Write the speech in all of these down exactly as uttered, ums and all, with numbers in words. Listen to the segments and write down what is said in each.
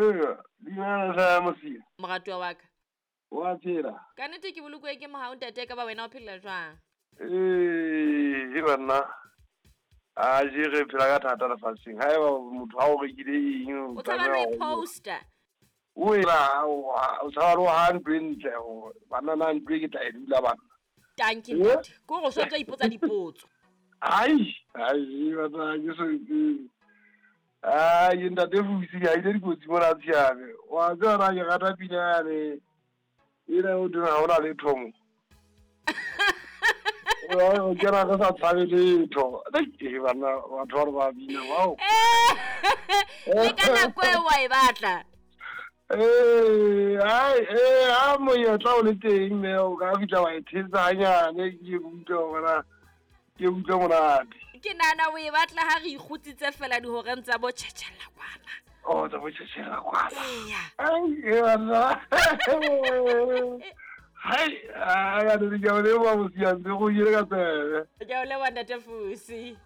Ee, dumela hle Mosia. Moratuwa wa ka. Wa phela? Ka nnete ke bolokuwe ke mohau ntate, ka ba wena o phela jwang? Ee, e banna. A je re phela ka thata lefatsheng. Haeba motho ha o rekile eng, o tshaba le poster. O ela o tshaba le ha ntlo e ntle hore banna na ntlo e ke tla e dula banna. Tanki ntate. Ke hore o so ntso ipotsa dipotso. Ai, ai batla ke so ai ntate Fusi ha ile dikotsi mona tshiame. Wa tseba na ke rata pina yane. Ena o dira ha ona letho mo. O kena re sa tshabe letho. Ke bana batho ba ba bina wow. Le ka nako e wa e batla. Eh, ai eh a monyetla o le teng mme o ka fihla wa e thetsa hanyane ke utlwe hore ke utlwe monate. Ke nahana o e batla ha re ikgutsitse fela dihoreng tsa bo tjhetjhela kwana. Oh, tsa bo tjhetjhela kwana. Eya. Ai, e bana. Hai, a ya di ke o leboha Mosia, ntse go ile ka tsebe. Ke o leboha ntate Fusi.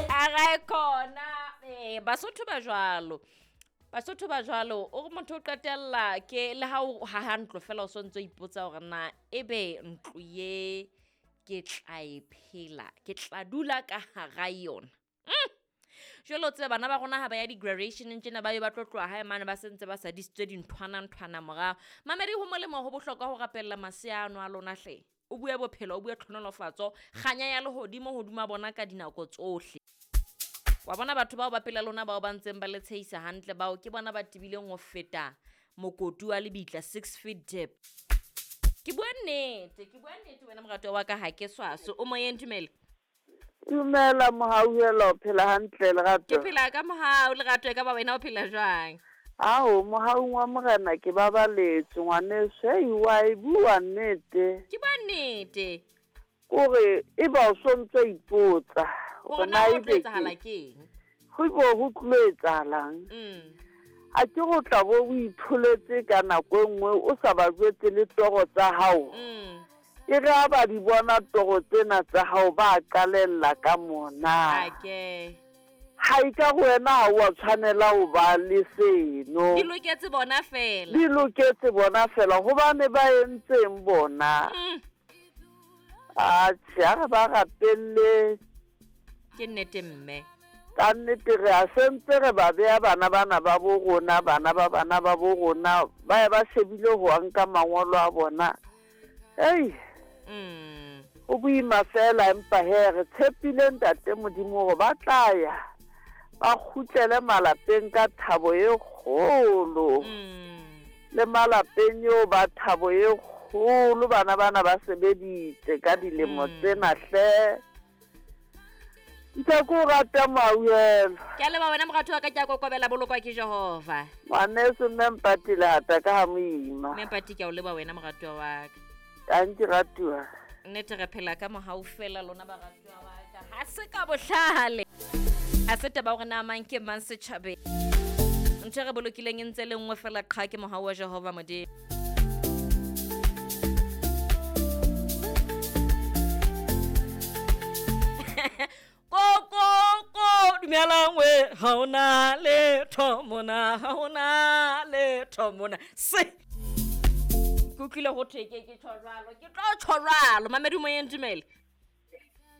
A re khona eh Basotho ba jwalo. Basotho ba jwalo o re motho o qetella ke le ha o haha ntlo fela o sontso ipotsa hore na ebe ntlo ye ke tla e phela, ke tla dula ka hara yona. Mm. Jwale o tsebe bana ba rona ha ba ya di-graduationeng tjena ba ye ba tlo tloha hae mane ba sentse ba sadisitswe dinthwana nthwana morao. Mamedi ho molemo ho bohlokwa ho rapella masea ano a lona hle. O bue bophelo, o bue tlhonolofatso, kganya ya lehodimo hodima bona ka dinako tsohle. Wa bona batho bao ba pela lona bao ba ntseng ba le tshehisa hantle bao ke bona ba tibileng ho feta mokoti wa lebitla six feet deep. Ke bua nnete, ke bua nnete wena moratuwa wa ka ha ke swaso. O moyeng dumela. Dumela Mohauhelo, o phela hantle Lerato? Ke phela ka mohau Lerato, e ka ba wena o phela jwang? Ao, mohaung wa Morena ke babaletswe ngwaneso. Hei, wa e bua nnete. Ke bua nnete. Kore e ba o sontso ipotsa hore na ho tlo etsahala keng. Ho bo ho tlo etsahalang. Mm. A ke go tla bo o itholetse ka nako e nngwe o sa ba jwetse le toro tsa hao. Mm. E re ha ba di bona toro tsena tsa hao ba qalella ka mona. Ake. Ha e ka go wena ha o a tshwanela ho ba le seno. Di loketse bona fela. Di loketse bona fela hobane ba entseng bona. Mm. Atjhe, ha re ba rapelle. Ke nnete mme. Ka nnete re a sentse re ba beha bana bana ba bo rona, bana ba bana ba bo rona, ba ye ba shebile ho nka mangolo a bona. Ei. Mm. Ho boima fela empa he re tshepile ntate Modimo hore ba tla ya. Ba kgutlele malapeng ka thabo e kgolo. Mm. Le malapeng eo ba thabo e kgolo bana bana ba sebeditse ka dilemo tsena hle. Ntse ko rata Mohauhelo. Ke a leboha wena moratuwa ka, ke a kokobela bolokwa ke Jehova. Ngwaneso mme Mpati lehata ka ha moima. Mme Mpati ke a o leboha wena moratuwa wa ka. Tanki ratuwa. Nnete re phela ka mohau fela lona baratuwa ba ka. Ha se ka bohlale. Ha se taba hore na mang ke mang setjhabeng. Ntho e re bolokileng e ntse le nngwe fela qha ke mohau wa Jehova Modimo. Ko ko ko dumelang we ha ona letho mona, ha ona letho mona. Se ke utlwile ho thwe ke ke tjho jwalo, ke tlo tjho jwalo. Mamedi moyeng dumela.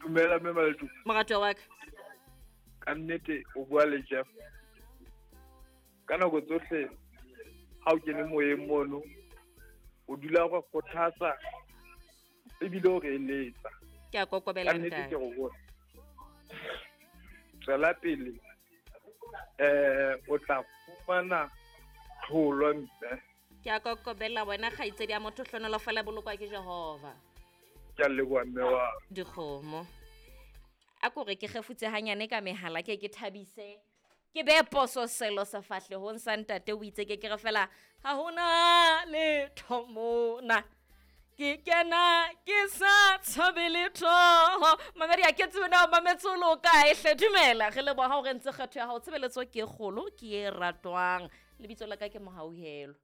Dumela mme Maletu. Moratuwa wa ka. Ka nnete o bua le Jeff. Ka nako tsohle ha o kene moyeng mono o dula o kgothatsa ebile o re eletsa. Ke a kokobela Ka nnete ntate. ke go bona. Tswela pele eh o tla fumana tlholo mme. Ke a kokobela wena kgaitsedi ya motho, hlonolofala bolokwa ke Jehova. Ke a leboha mme wa. Dikgomo. A ko re ke kgefutse hanyane ka mehala ke ke thabise. Ke be poso selo sefahlehong sa ntate o itse ke ke re fela ha hona letho mona. Ke kena ke sa tshabe letho. Mamedi a ke tsebe na o mametse o le o kae hle. Dumela, re leboha hore ntse kgetho ya hao. Tshebeletso ke e kgolo, ke e ratwang. Lebitso la ka ke Mohauhelo.